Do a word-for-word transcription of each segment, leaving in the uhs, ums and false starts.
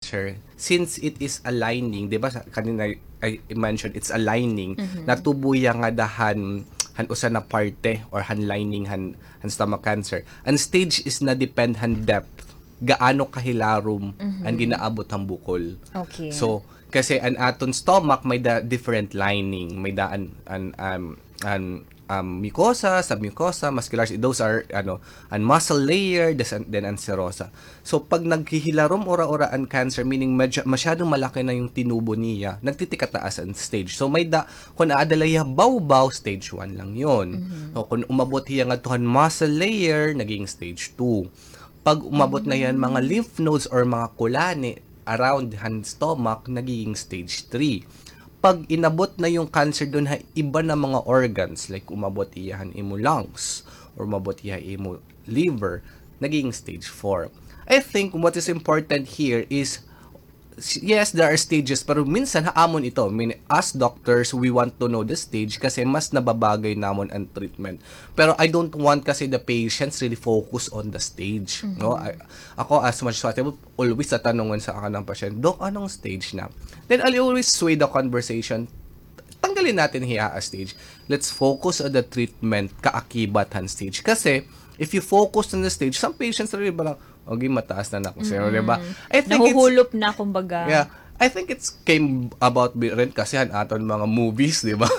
cancer, since it is a lining, di ba, sa, kanina I mentioned it's a lining, natubo hiya ngada han, han usa na parte or han lining han, han stomach cancer. An stage is na-depend han depth, gaano kahilarom an ginaabot han bukol. Okay. So, kasi an aton stomach may-ada different lining, may-ada an, an, um, an, um, mucosa, submucosa, muscular, those are, ano, an muscle layer, des-, then an serosa. So, pag naghihilarom ura-ura an cancer, meaning medyo, masyadong malaki na yung tinubo niya, nagtitikataas an stage. So, may-ada, kung aada la hiya bawbaw, stage one lang yun. So, kung umabot hiya ngadto han muscle layer, naging stage two. Pag umabot na hiya han mga lymph nodes or mga kulani around han stomach, nagiging stage three. Pag inabot na yung cancer dun ha iba na mga organs, like umabot hiya han imo lungs, or umabot hiya ha imo liver, nagiging stage four. I think what is important here is, s-, yes, there are stages, pero minsan ha amon ito. I mean, as doctors, we want to know the stage kasi mas nababagay namon an treatment. Pero I don't want kasi the patients really focus on the stage, no? I, ako, as much as possible, always tatanungan sa akin ng pasyente, "Doc, anong stage na?" Then I'll always sway the conversation. Tanggalin natin hiya ha stage. Let's focus on the treatment kaakibat han stage. Kasi, if you focus on the stage, some patients really parang, "Okay, mataas na na ako, sir," di ba? I think it's Nahuhulop na, kumbaga. Yeah. I think it's came about bi-, rin kasi han aton mga movies, di ba?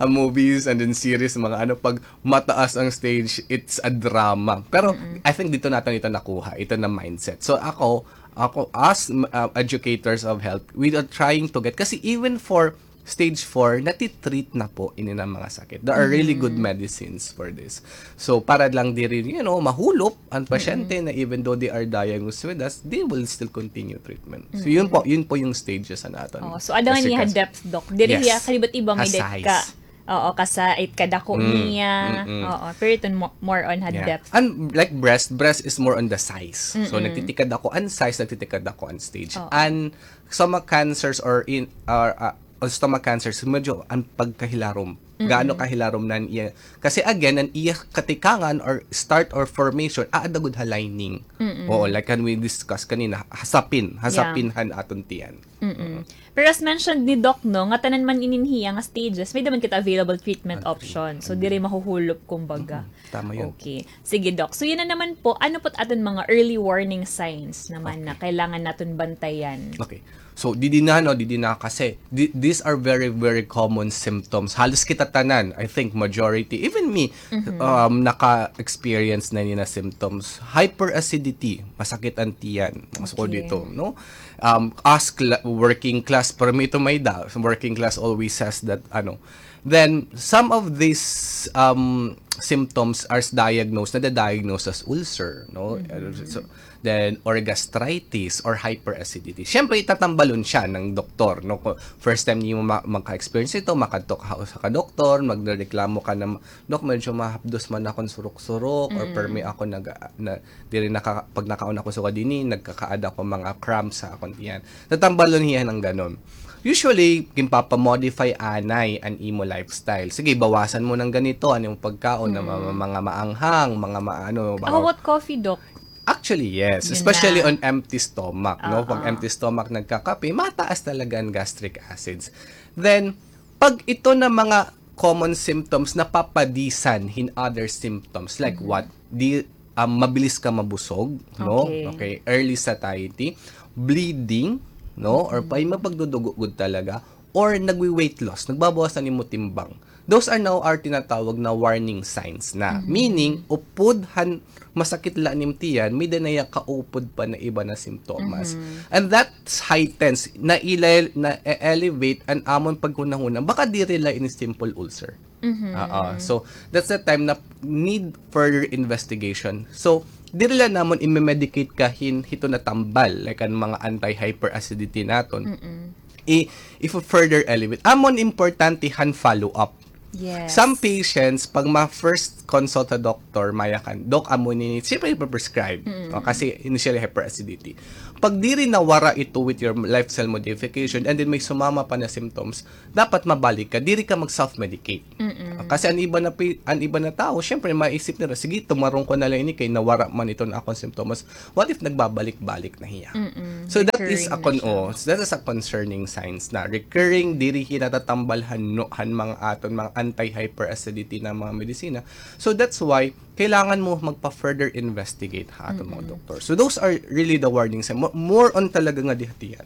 Ang movies and then series, mga ano, pag mataas ang stage, it's a drama. Pero I think dito natin ito nakuha, ito na mindset. So ako, ako as, uh, educators of health, we are trying to get, kasi even for stage four, natitreat na po ini na mga sakit. There are really good medicines for this. So, para lang diri, you know, mahulop ang pasyente na even though they are diagnosed with us, they will still continue treatment. So, yun po, yun po yung stages sa naton. Oh, so, ada nga niya depth, Doc. Diri hiya, kalibat iba may depth ka. Oo, kasa-, it kadako niya. Mm-mm. Oo, pero ito mo-, more on ha depth. And like breast, breast is more on the size. So, nagtitikadako an size, nagtitikadako an stage. And stomach cancers or in, or, uh, o stomach cancers, medyo an pagkahilarom. Gaano kahilarom na an iya. Kasi again, an iya katikangan or start or formation, aada gud ha lining. Oo, like kan we discuss kanina, ha sapin, ha sapin han aton tiyan. Pero as mentioned ni Doc, no, nga tanan man inin hiya nga stages, may-ada man kita available treatment option. So, diri mahuhulop, kumbaga. Tama yun. Okay. Sige, Doc. So, yun na naman po. Ano po't aton mga early warning signs naman na kailangan naton bantayan? Okay. So, didi na, no, didi na kasi. Di-, these are very, very common symptoms. Halos kita tanan, I think majority, even me, um, naka-experience na ini na symptoms. Hyperacidity, masakit an tiyan. Masukod dito, no? Um, as cla-, working class, permi ito may-ada. Working class always says that, ano, Then, some of these, um, symptoms are s-, diagnosed, nada-diagnose as ulcer, no? So, then, or gastritis, or hyperacidity. Siyempre, itatambalon siya ng doktor, no? Kung first time niyo ma-, magka-experience ito, makadto ka sa kadoktor, magreklamo ka na, "Dok, medyo mahapdos man akon surok-surok, or permi ako nag-, na, diri naka-, pag nakaon ako sugad ini, nagkakaada ako mga cramps sa akon tiyan." Tatambalon hiya ng ganon. Usually, ginpapa-modify anay an imo lifestyle. Sige, bawasan mo ng ganito, an imo pagkaon, na mga, mga maanghang, mga maano. How about coffee, Doc? Actually, yes. Especially on empty stomach, no? Pag empty stomach nagkakape, mataas talaga an gastric acids. Then, pag ito na mga common symptoms, napapadisan hin other symptoms. Like what? Di, um, mabilis ka mabusog, no? Okay. Early satiety, bleeding, no? Or pa, may pagdudugo gud talaga, or nagwi-weight loss, nagbabawas na nimo timbang. Those are now our tinatawag na warning signs na. Meaning, upod han masakit la an imo tiyan, may-ada na hiya kaupod pa na iba na simptomas. And that heightens, na-ele-, na-elevate an amon paghunahuna, baka diri la ini simple ulcer. Oo. So, that's the time na need further investigation. So, diri la namon i-medicate ka hin hito na tambal, like an mga anti-hyperacidity naton. I, if further elevate. Amon importante han follow-up. Some patients, pag ma-first consult ha doktor, mayakan, "Dok, amo ini," siyempre ipa-prescribe. O, kasi initially hyperacidity. pag diri nawara ito with your lifestyle modification and then may sumama pa na symptoms, dapat mabalik ka, diri ka mag-self-medicate. Kasi an iba na pi-, an iba na tawo, syempre maisip nira, "Sige, tumarong ko na la ini kay nawara man iton akon symptoms." What if nagbabalik-balik na hiya? So that is a con-, oh, that is a concerning signs na recurring, diri hiya natatambal han, no, han mga aton, mga anti-hyperacidity na mga medisina. So that's why kailangan mo magpa-further investigate ha aton mga doktor. So those are really the warning sign. Mo-, more on talaga nga dihatian.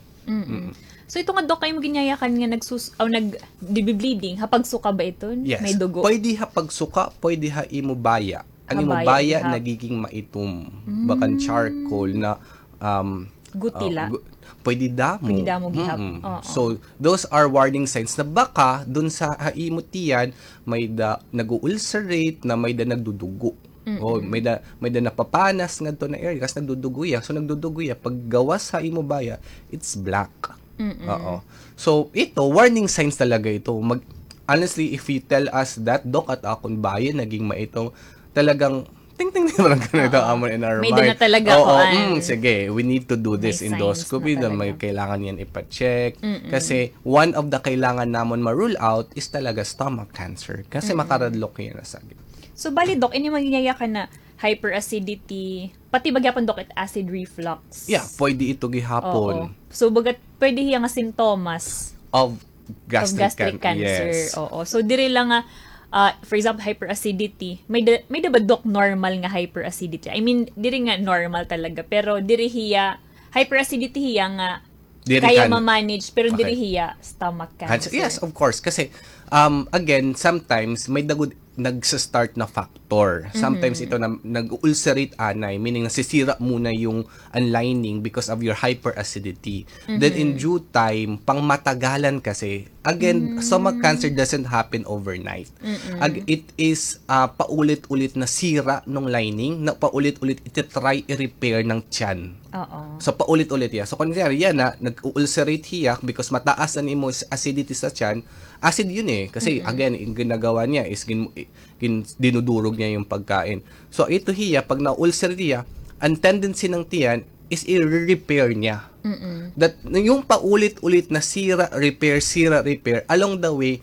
So ito nga, Doc, kay mo ginyayakan nga nagsus-, aw, nag-, di-bleeding, ha pagsuka ba iton? Yes. May dugo? Pwede ha pagsuka, pwede ha imo baya. An imo baya nagiging maitom. Bakan charcoal na, um, gutila. Pwede damo. Pwede damo gihap. Oo. So, those are warning signs na baka dun sa ha imo tiyan, may da nag-u-ulcerate, na may da nagdudugo. O may da, may da napapanas ngadto na area, kasi nagdudugo iya. So, nagdudugo iya. Pag gawas ha imo baya, it's black. Oo. So, ito, warning signs talaga ito. Mag-, honestly, if you tell us that, "Doc, at akon baya naging maitom," talagang ting, ting, ting, parang ganito, amon in our mind. May da na talaga. Oo, sige, we need to do this endoscopy, then may kailangan yan ipa-check. Kasi one of the kailangan namon ma-rule out is talaga stomach cancer. Kasi makaradlok yan na sagip. So, bali, Doc, ini man ginyayakan na hyperacidity, pati ba gyapon, Doc, it acid reflux? Yeah, pwede ito gihapon. Oo. So, bagat pwede hiya nga sintomas of gastric cancer. Oo. So, diri lang nga, ah, for example, hyperacidity. May da, may da ba, Doc, normal nga hyperacidity? I mean, diri nga normal talaga, pero diri hiya, hyperacidity hiya nga kaya ma-manage, pero diri hiya stomach cancer. Yes, of course. Kasi, um, again, sometimes, may da gud nagsa-start na factor. Sometimes ito na nag-ulcerate anay, meaning nasisira muna yung an lining because of your hyperacidity. Then in due time, pang matagalan kasi, again, stomach cancer doesn't happen overnight. Ag-, it is, ah, paulit-ulit na sira nung lining, na paulit-ulit iti-try i-repair ng tiyan. Oo. So, paulit-ulit iya. So, kunyari, yan na, nag-ulcerate hiya because mataas an imo s-, acidity sa tiyan. Acid yun eh. Kasi, again, yung ginagawa niya is gin-, gin-, dinudurog niya yung pagkain. So, ito hiya, pag na-ulcer hiya, ang tendency ng tiyan is i-repair niya. That, yung paulit-ulit na sira, repair, sira, repair, along the way,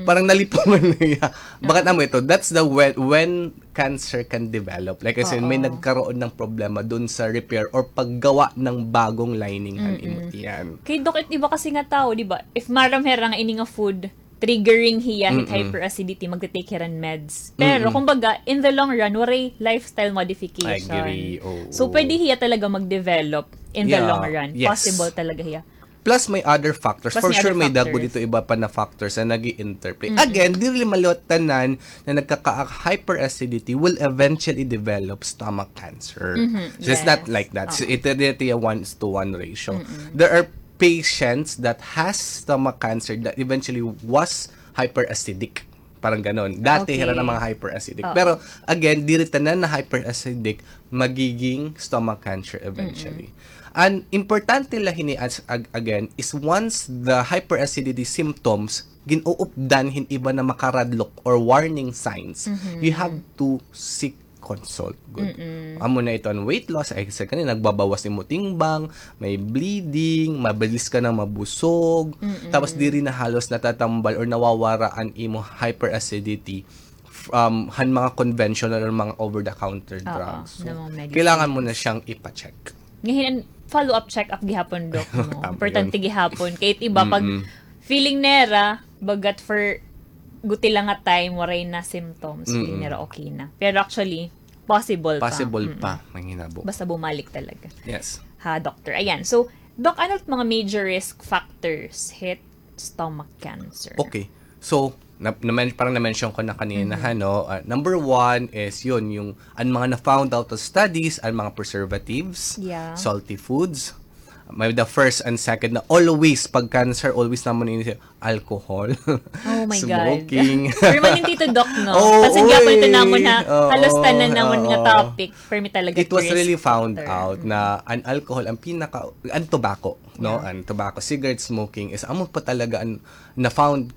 parang nalipungan na hiya. Bagat amo ito, that's the when, when cancer can develop. Like I said, may nagkaroon ng problema dun sa repair or paggawa ng bagong lining han imo tiyan. Kay, Doc, it iba kasi nga tao, di ba? If maaram hira nga ini nga food, triggering hiya hit hyperacidity, magte-take hiran meds. Pero, kumbaga, in the long run, waray lifestyle modification. I agree, oo. So, pwede hiya talaga mag-develop in the long run. Yes. Possible talaga hiya. Plus, may other factors. For sure, may da gud ito iba pa na factors na nag-i-interplay. Again, diri maliwat tanan na nagkaka-hyperacidity will eventually develop stomach cancer. So, it's not like that. So, ito, ito yung one to one ratio. There are patients that has stomach cancer that eventually was hyperacidic. Parang ganon. Dati hira na mga hyperacidic. Pero again, diri tanan na hyperacidic magiging stomach cancer eventually. An importante la hini as, ag-, again, is once the hyperacidity symptoms gin-uupdan hin iba na makaradlok or warning signs, you have to seek consult gud. Amo na ito an weight loss, ay sa kanina, nagbabawas imo timbang, may bleeding, mabilis ka na mabusog, tapos diri na halos natatambal or nawawara an imo hyperacidity from han mga conventional or mga over-the-counter drugs. So, kailangan mo na siyang ipa-check. Ngayon, an follow-up check-up gihapon, Doc, no? Importante gihapon. Kay it iba, pag feeling nira, bagat for guti lang nga time, waray na symptoms, feeling nira okay na. Pero actually, possible pa. Possible pa, manghinabo. Basta bumalik talaga. Yes. Ha, doctor. Ayan. So, Doc, ano it mga major risk factors hit stomach cancer? Okay. So, na, na, parang na-mention ko na kanina, ha, no? Ah, number one is yun, yung, ang mga na-found out of studies, ang mga preservatives, salty foods. May the first and second na always, pag cancer, always namon ini alcohol, smoking. Oh my God. Permanente ito, Doc, no? Oo, kasi gihapon ito namon ha, halos tanan namon nga topic, permi talaga. It was really found out na an alcohol, ang pinaka, an tobacco, no? An tobacco, cigarette smoking is amo pa talaga an na-found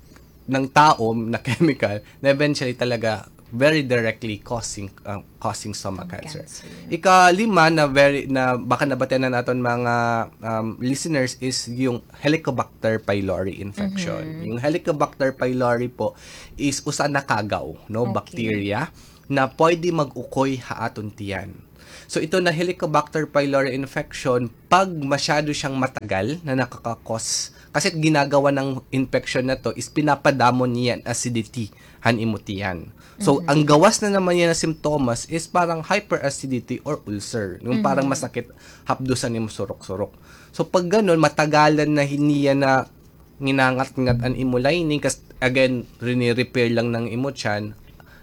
ng tao na chemical na eventually talaga very directly causing, ah, causing stomach cancer. Ikalima na very, na baka nabatian na naton mga, um, listeners is yung Helicobacter pylori infection. Yung Helicobacter pylori po is usa na kagaw, no, bacteria na pwede mag-ukoy ha aton tiyan. So, ito na Helicobacter pylori infection, pag masyado siyang matagal na nakakakos, kasi ginagawa ng infection na 'to is pinapadamo niya an acidity han imo tiyan. So, ang gawas na naman niya na simptomas is parang hyperacidity or ulcer, yung parang masakit hapdos an imo surok-surok. So, pag gano'n, matagalan na hin-, niya na nginangat-ngat an imo lining, kas-, again, rine-repair lang ng imo tiyan,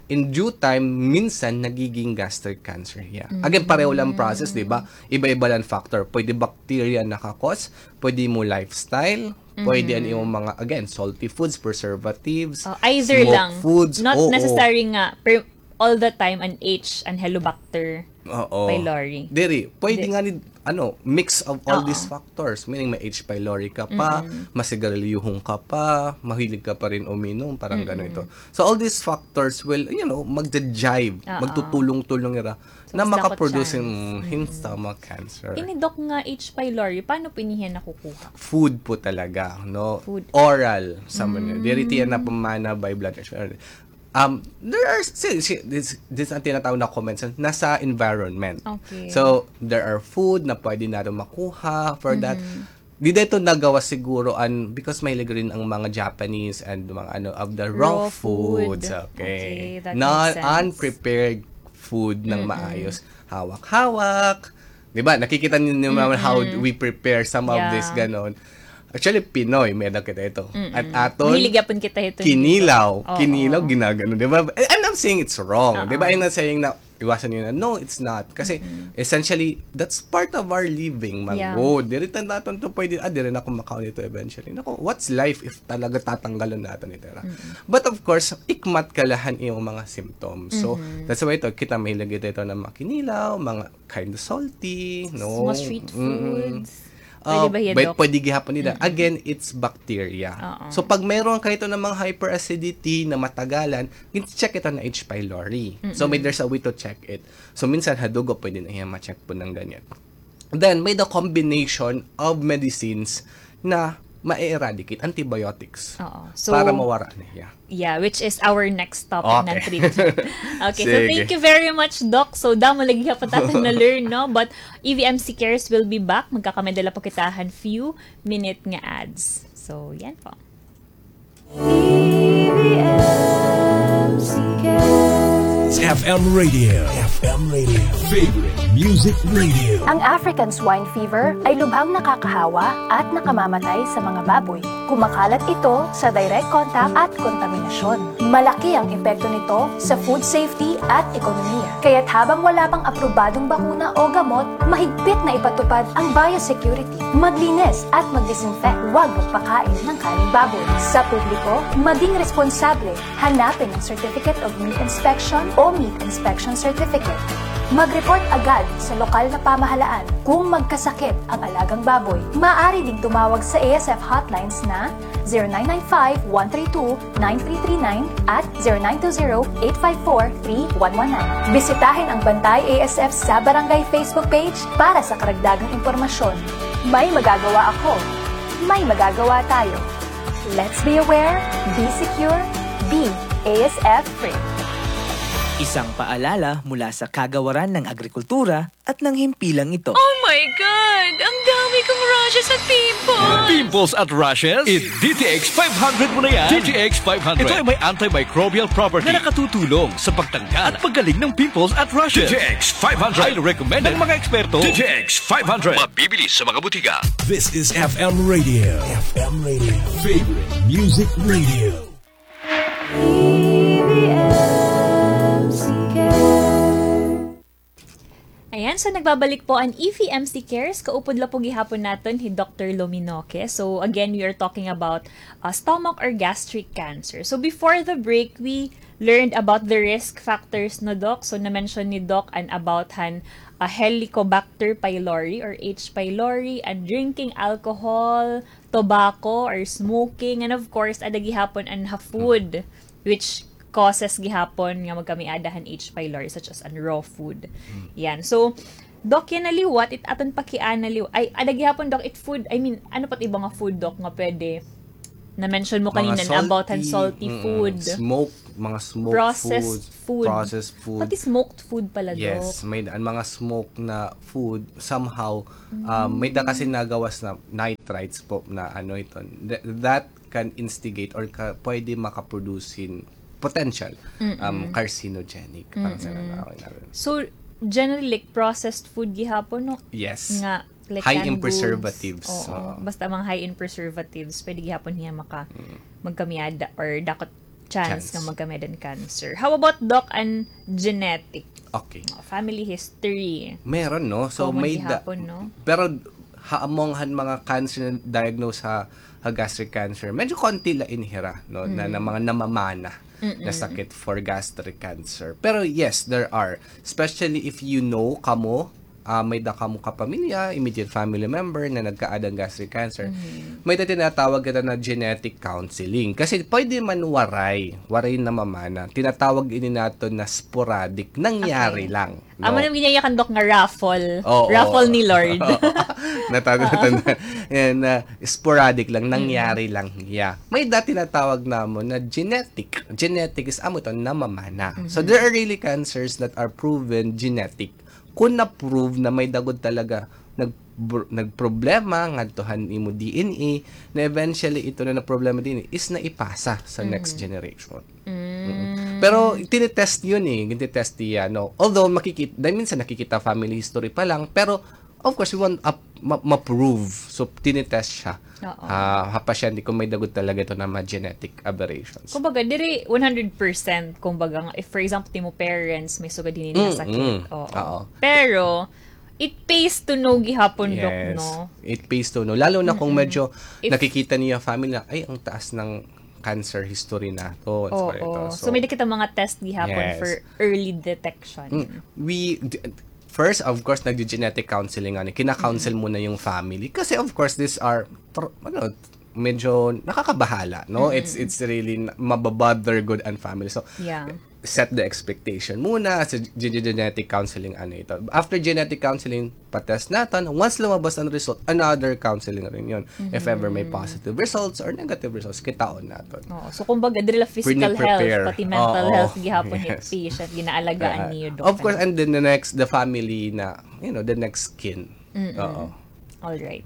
in due time, minsan nagiging gastric cancer hiya. Again, pareho lang process, di ba? Iba-iba lang factor. Pwede bacteria nakakos, pwede mo lifestyle, pwede an imo mga, again, salty foods, preservatives, smoke foods. Not necessary nga, per-, all the time an H, an Helicobacter pylori. Diri, pwede nga ni, ano, mix of all these factors. Meaning, may H. pylori ka pa, masigarilyohon ka pa, mahilig ka pa rin uminom, parang gano'n ito. So, all these factors will, you know, magja-jive, magtutulong-tulong ira na makaproduce hin stomach cancer. Ini, Doc, nga H. pylori, paano po ini hiya nakukuha? Food po talaga, no? Oral, sa mga, diri tiya napamana by blood transfusion. Um, there are, si, si, this, this ang tinatawag na comments, nasa environment. So, there are food na pwede natin makuha for that. Dida ito nagawa siguro an, because mahilig rin ang mga Japanese and mga ano, of the raw foods. Okay. Unprepared food ng maayos. Hawak-hawak. Di ba? Nakikita niyo naman how we prepare some of this, ganon. Actually, Pinoy, may-ada kita ito. At aton, mahilig yapon kita ito, kinilaw. Kinilaw, ginagano, di ba? I'm not saying it's wrong. Di ba? I'm not saying na iwasan niyo na. No, it's not. Kasi, essentially, that's part of our living, manggod. Diri ta naton to pwede, ah, diri na ako makaon ito eventually. Naku, what's life if talaga tatanggalan natin ito, ra? But of course, ikmat ka la han iyong mga symptoms. So, that's why ito, kita mahilig ito, ito na mga kinilaw, mga kind of salty, no? Mga street foods. Pwede ba hiya, Doc? Pwede gihapon nila. Again, it's bacteria. So, pag mayroon ka ito ng mga hyperacidity na matagalan, gin-check ito na H. pylori. So, may, there's a way to check it. So, minsan ha dugo, pwede na hiya ma-check po ng ganyan. Then, may the combination of medicines na ma-eradicate, antibiotics, para mawara na hiya. Yeah, which is our next topic na treatment. Okay, so thank you very much, Doc. So, damo lagi ka pa naton na-learn, no? But E V M C Cares will be back. Magkakamay-ada la po kita han few minute nga ads. So, yan po. E V M C Cares. F M Radio. F M Radio. Favorite music radio. Ang African Swine Fever ay lubhang nakakahawa at nakamamatay sa mga baboy. Kumakalat ito sa direct contact at kontaminasyon. Malaki ang epekto nito sa food safety at ekonomiya. Kaya't habang wala pang aprobadong bakuna o gamot, mahigpit na ipatupad ang biosecurity. Maglinis at mag-disinfect. Huwag magpakain ng kaning baboy. Sa publiko, maging responsable. Hanapin ang Certificate of Meat Inspection o Meat Inspection Certificate. Mag-report agad sa lokal na pamahalaan kung magkasakit ang alagang baboy. Maaari ding tumawag sa A S F hotlines na zero nine nine five, one three two, nine three three nine at zero nine two zero, eight five four, three one one nine. Bisitahin ang Bantay A S F sa Barangay Facebook page para sa karagdagang impormasyon. May magagawa ako. May magagawa tayo. Let's be aware, be secure, be A S F free. Isang paalala mula sa Kagawaran ng Agrikultura at ng himpilang ito. Oh my God! Ang dami kong rashes at pimples! Pimples at rashes? I-D T X five hundred mo na yan. D T X five hundred. Ito ay may antimicrobial property na nakatutulong sa pagtanggal at paggaling ng pimples at rashes. D T X five hundred. Highly recommended ng mga eksperto. D T X five hundred. Mabibili sa mga butika. This is F M Radio. F M Radio. Favorite music radio. E V M C Cares. Ayan, so nagbabalik po an E V M C Cares. Kaupod la po gihapon naton hi Doctor Lominoque. So again, we are talking about, uh, stomach or gastric cancer. So before the break, we learned about the risk factors, no, Doc? So na-mention ni Doc an about han, uh, Helicobacter pylori or H. pylori, an drinking alcohol, tobacco or smoking, and of course, ada gihapon an ha food, which causes gihapon nga magkamiada han H. pylori, such as an raw food. Yan. So, Doc, yana liwat, it aton pakiana liwat. Ay, ada gihapon, Doc, it food, I mean, ano pa it iba nga food, Doc, nga pwede? Na-mention mo kanina about han salty food. Smoke, mga smoke food, processed food. Pati smoked food pala, Doc. Yes, may daan mga smoke na food, somehow, um, may da kasi nagawas na nitrites po na ano ito. Th-, that can instigate or ka, pwede makaproduce hin potential, um, carcinogenic. Parang sa nangawin natin. So, generally, like, processed food gihapon, no? Yes. Nga, like, high in preservatives. Oo. Basta mga high in preservatives, pwede gihapon hiya maka, magkamiada or dakot chance nga magkamiada hin cancer. How about, Doc, an genetic? Okay. Family history. Meron, no? So, common gihapon, no? Pero ha, among han mga cancer na diagnose ha, ha gastric cancer, medyo konti la ini hira, no? Na, na mga namamana na sakit for gastric cancer. Pero yes, there are. Especially if you know, kamo, ah, may da kamo kapamilya, immediate family member na nagkaada hin gastric cancer. May da tinatawag kita na genetic counseling. Kasi pwede man waray, waray namamana. Tinatawag ini naton na sporadic. Nangyari lang. Amo na ginyayakan, Doc, nga raffle. Oo. Raffle ni Lord. Natanda, natanda. Yan, ah, sporadic lang, nangyari lang. Yeah. May da tinatawag namon na genetic. Genetic is amo ito, namamana. So, there are really cancers that are proven genetic. Kung na-prove na may da gud talaga nag-, nagproblema ngadto han imo D N A, na eventually ito na, na problema D N A is naipasa sa next generation. Pero tinitest yun eh, tinitest niya, no? Although makikit-, dahil minsan nakikita family history pa lang, pero of course, we want up, ma-, ma-prove. So, tinitest siya. Oo. Ha, ha pasyente kung may da gud talaga ito na mga genetic aberrations. Kumbaga, diri one hundred percent, kumbaga, if for example, timo parents, may sugad hini nga sakit. Oo. Pero, it pays to know gihapon, Doc, no? Yes. It pays to know. Lalo na kung medyo nakikita niya family na, ay, ang taas ng cancer history naton. Oo. So, may da kita mga test gihapon for early detection. We, d-, first, of course, nagdi-genetic counseling, ano, kina-counsel mo na yung family. Kasi, of course, these are, tr-, ano, medyo nakakabahala, no? It's, it's really, mababother gud an family. So, set the expectation muna sa ge-, ge-, genetic counseling, ano ito. After genetic counseling, pa-test naton. Once lumabas an result, another counseling rin yun. If ever may positive results or negative results, kitaon naton. Oo. So, kumbaga, diri la physical health, pati mental health, gihapon ni patient, ginaalagaan niyo, Doc. Of course, and then the next, the family na, you know, the next kin. Oo. All right.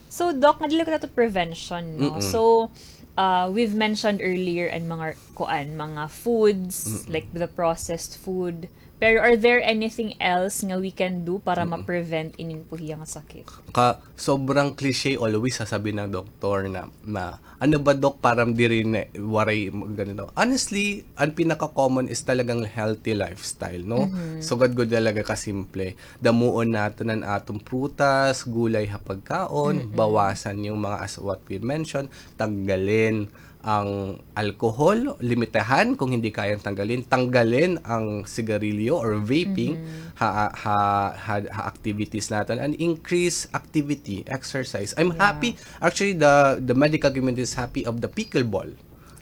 So, Doc, nga diri la kita to prevention, no? So, uh, we've mentioned earlier an mga, kuan, mga foods, like the processed food. Pero are there anything else nga we can do para ma-prevent inin po hiya nga sakit? Ka, sobrang cliche, always sasabi ng doktor na, na, "Ano ba, Doc, para diri na waray ganito?" Honestly, ang pinaka-common is talagang healthy lifestyle, no? Sugad gud talaga kasimple. Damuon naton an aton prutas, gulay ha pagkaon, bawasan yung mga, as what we mentioned, tanggalin ang alcohol, limitahan kung hindi kayang tanggalin, tanggalin ang sigarilyo or vaping ha, ha, ha, ha activities naton, and increase activity, exercise. I'm happy, actually, the, the medical community is happy of the pickleball.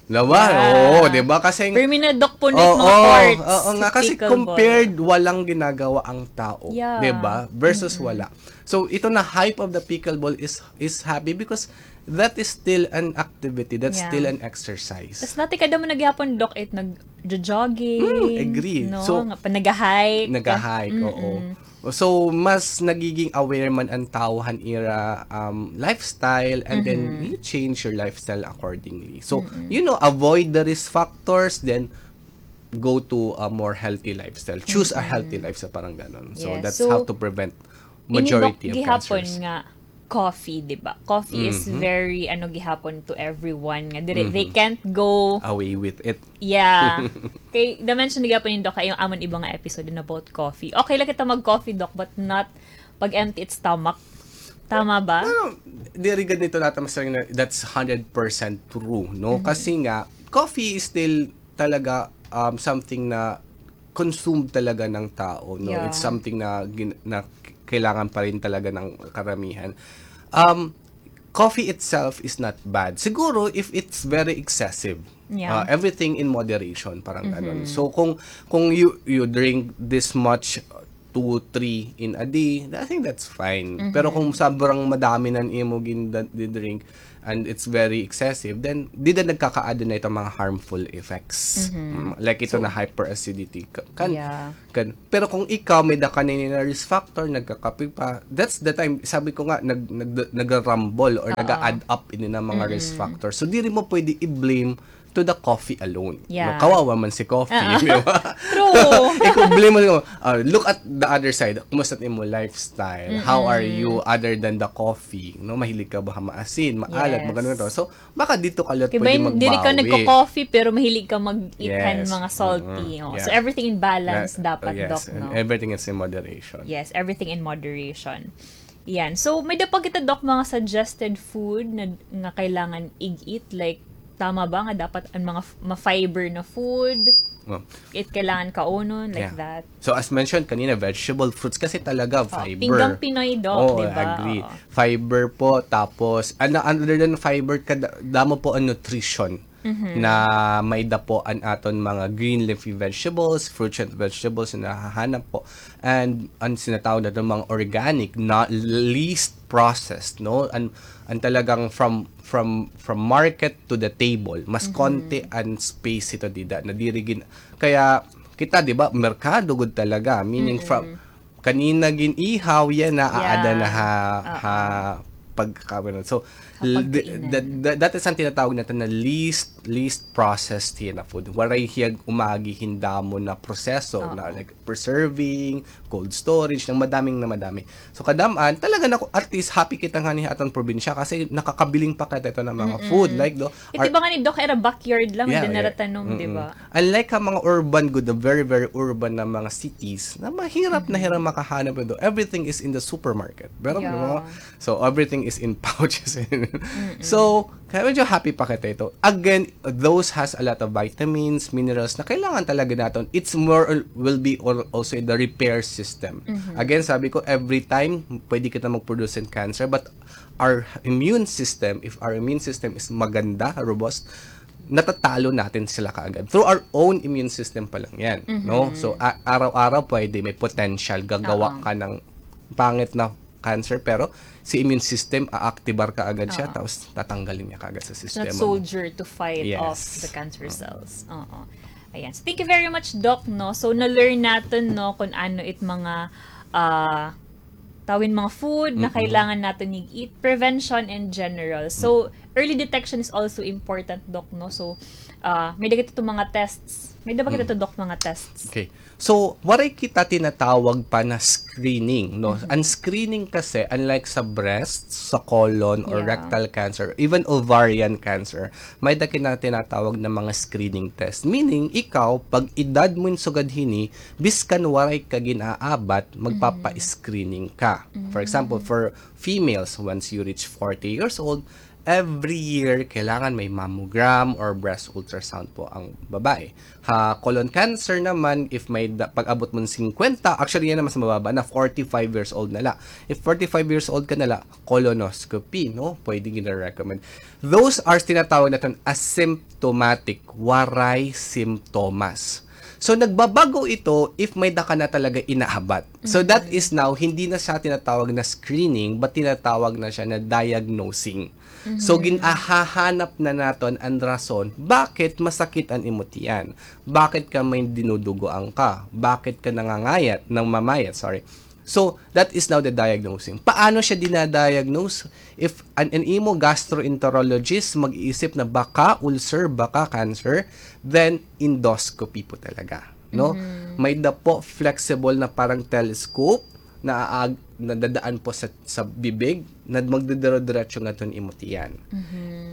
Diba? Oo, diba? Kasi, pero may na, Doc, punit mga courts, oo nga, kasi pickleball. Compared, walang ginagawa ang tao. Diba? Versus wala. So, ito na hype of the pickleball is, is happy because that is still an activity, that's still an exercise. Tas natikada mo na gihapon, Doc, it nag-jogging, agree. No? So, nga pa, nag-hike. Nag-hike, oo. So, mas nagiging aware man an tao han ira, um, lifestyle, and then you change your lifestyle accordingly. So, you know, avoid the risk factors, then go to a more healthy lifestyle. Choose a healthy lifestyle, parang ganon. So, that's how to prevent majority of cancers. Ini, Doc, gihapon nga coffee, di ba? Coffee is very, ano, gihapon to everyone nga diri, they can't go away with it. Yeah. Kay, na-mention na gihapon ni Doc, kay amon iba nga episode na about coffee. Okay lang kita mag-coffee, Doc, but not pag empty it stomach. Tama ba? Pero, diri gad nito naton masasabing na that's hundred percent true, no? Kasi nga, coffee is still talaga, um, something na consumed talaga ng tao, no? It's something na gin-, na k-, kailangan pa rin talaga ng karamihan. Um, coffee itself is not bad. Siguro if it's very excessive, Yeah. Uh, everything in moderation, parang ganon. So, kung, kung you, you drink this much, uh, two, three in a day, I think that's fine. Pero kung sobrang madami na an imo gin-, di-drink and it's very excessive, then dida nagkakaada na itong mga harmful effects. Mm, like ito na hyperacidity. Ka-, kan, Yeah. Kan, pero kung ikaw, may-ada ka na ini na risk factor, nagkakape pa, that's the time, sabi ko nga, nag-, nag-, nagrarambol or nag-a-add up ini na mga risk factor. So, diri mo pwede i-blame to the coffee alone. Yeah. No, kawawa man si coffee, di ba? True. Ikaw, blame mo, ah, look at the other side. Kumusta imo lifestyle? How are you other than the coffee? No, mahilig ka ba maasin, maalat, magano to? So, baka dito ka lang pwede magbawi. Kay ba diri ka nagko-coffee, pero mahilig ka mag-eat han mga salty. Oh. So, everything in balance dapat, Doc, no? Everything is in moderation. Yes, everything in moderation. Yan. So, may-ada pa kita, Doc, mga suggested food na, nga kailangan ig-eat? Like, tama ba nga dapat an mga f-, ma-fiber na food? It kailangan kaunon, like that. So, as mentioned kanina, vegetable, fruits, kasi talaga fiber. Pinggang Pinoy, Doc, di ba? Agree. Fiber po, tapos, ano, other than fiber, kada-, damo po an nutrition na may-ada po an aton mga green leafy vegetables, fruits and vegetables na nahahanap po. And an sinatawag naton mga organic, na least processed, no? An, an talagang from, from, from market to the table, mas konti an space ito dida, na diri gin-, kaya kita, di ba, merkado gud talaga, meaning from, kanina gin-ihaw, yana, aada na ha, ha pagkaon. So, that is an tinatawag naton na least, least processed hiya na food. Waray hiya umagi hin damo na proseso, na, like, preserving, cold storage, nang madaming na madami. So, kadam-an, talaga na, at least, happy kita ngani ha aton probinsya kasi nakakabiling pa kita ito ng mga food, like, do, Ito ba ngani, Doc, ira backyard lang, dida nira tanom, di ba? Unlike ha mga urban gud, the very, very urban na mga cities, na mahirap na hira makahanap ito. Everything is in the supermarket. Pero, no? So, everything is in pouches. So, kaya medyo happy pa kita ito. Again, those has a lot of vitamins, minerals na kailangan talaga naton. It's more, will be also in the repair system. Again, sabi ko, every time, pwede kita mag-produce in cancer, but our immune system, if our immune system is maganda, robust, natatalo natin sila kaagad. Through our own immune system pa lang yan, no? So, a-, araw-araw pwede may potential, gagawa ka ng pangit na cancer, pero si immune system, aaktibar kaagad siya, tapos tatanggalin niya kaagad sa sistema mo. Soldier to fight off the cancer cells. Oo. Ayan. So, thank you very much, Doc, no? So, na-learn natin, no, kung ano it mga, ah, tawin mga food na kailangan natin i-eat, prevention in general. So, early detection is also important, Doc, no? So, ah, may-ada kita ito mga tests. May-ada ba kita ito, Doc, mga tests? Okay. So, waray kita tinatawag pa na screening, no? An screening kasi, unlike sa breast, sa colon, or rectal cancer, even ovarian cancer, may-ada kita tinatawag na mga screening test. Meaning, ikaw, pag edad mo in sugad hini, biskan waray ka gin-aabat, magpapa-screening ka. For example, for females, once you reach forty years old, every year, kailangan may mammogram or breast ultrasound po ang babae. Ha colon cancer naman, if may da-, pag-abot mo ng singkwenta, actually, yana mas mababa na, forty-five years old na la. If forty-five years old ka na la, colonoscopy, no? Pwede gina-recommend. Those are tinatawag natin asymptomatic, waray simptomas. So, nagbabago ito if may-ada ka na talaga inaabat. So, that is now, hindi na siya tinatawag na screening, but tinatawag na siya na diagnosing. So, gin-, ahahanap na naton an rason, bakit masakit an imo tiyan? Bakit ka may dinudugoan ka? Bakit ka nangangayat, namamayat, sorry. So, that is now the diagnosing. Paano siya dinadiagnose? If an, an imo gastroenterologist mag-iisip na baka ulcer, baka cancer, then endoscopy po talaga, no? May-ada po flexible na parang telescope na aag-, nadadaan po sa, sa bibig, na magdidiro-diretso ngadto han imo tiyan.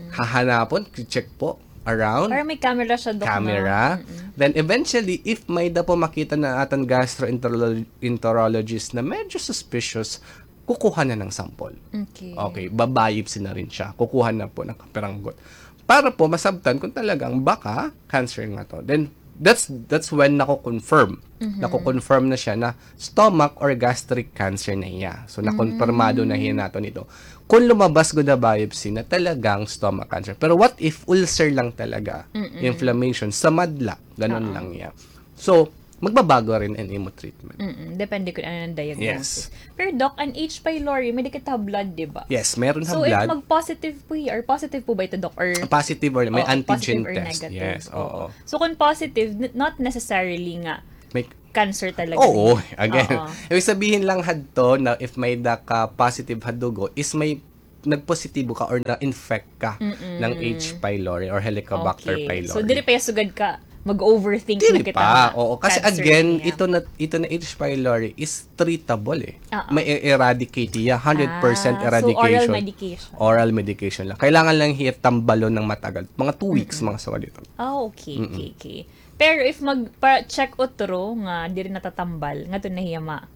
Hahanapon, check po, around. Parang may camera siya, Doc, no? Camera. Then eventually, if may-ada po makita na aton gastroenterolo-, enterologist na medyo suspicious, kukuha na ng sample. Okay. Okay, ba-biopsy na rin siya. Kukuha na po ng kapiranggot. Para po masabtan kung talagang baka cancer nga to. Then, that's that's when nako-confirm. Nako-confirm na siya na stomach or gastric cancer na hiya. So, nakonpirmado na hiya naton ito. Kung lumabas gud ha biopsy na talagang stomach cancer. Pero what if ulcer lang talaga? Inflammation, sa madla, ganun lang hiya. So, magbabago rin an imo treatment. Mm-mm. Depende kung ano ang diagnosis. Pero Doc, an H. pylori, may dikit ha blood, di ba? Yes, meron ha So, if blood. mag-positive po hiya, or positive po ba ito, Doc? Or Positive or may Oo, antigen positive or test. Negative. Yes, oo. So, kung positive, n- not necessarily nga May cancer talaga. Oo, Niya. Again. Oo. Ibig sabihin lang hadto na if may da ka positive ha dugo is may nagpositibo ka or na-infect ka ng H. pylori or Helicobacter Okay. pylori. So, diri pa hiya sugad ka mag-overthink Diri na kita pa. nga Oo, kasi cancer again, niya. ito na ito na H. pylori is treatable eh. Oo. May e-, eradicate hiya, hundred percent Ah, so eradication. oral medication. Oral medication lang. Kailangan lang hiya tambalon ng matagal. Mga two weeks, mga sugad ito. Ah, okay, okay, okay. Pero if magpa-check utro nga diri natatambal, ngadto na hiya ma-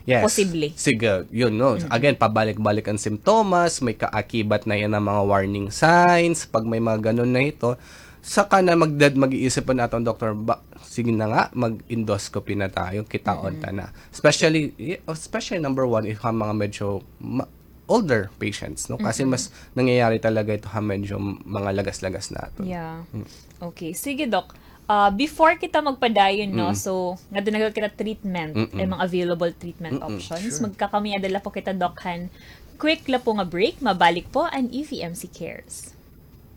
Yes. Posible. Sige, yun, no. Again, pabalik-balik an simptomas, may kaakibat na hiya ng mga warning signs, pag may mga ganun na ito, saka na magdad mag-iisip an aton doktor, ba, sige na nga, mag-endoscopy na tayo, kitaon ta na. Especially, especially number one, if ha mga medyo ma- older patients, no? Kasi mas nangyayari talaga ito ha medyo mga lagas-lagas na ito. Yeah. Okay. Sige, Doc. Ah, before kita magpadayon, no? So, ngadto na kita treatment, eh, mga available treatment options. Magkakamay-ada la po kita, Doc, han quick la po nga break. Mabalik po an E V M C Cares.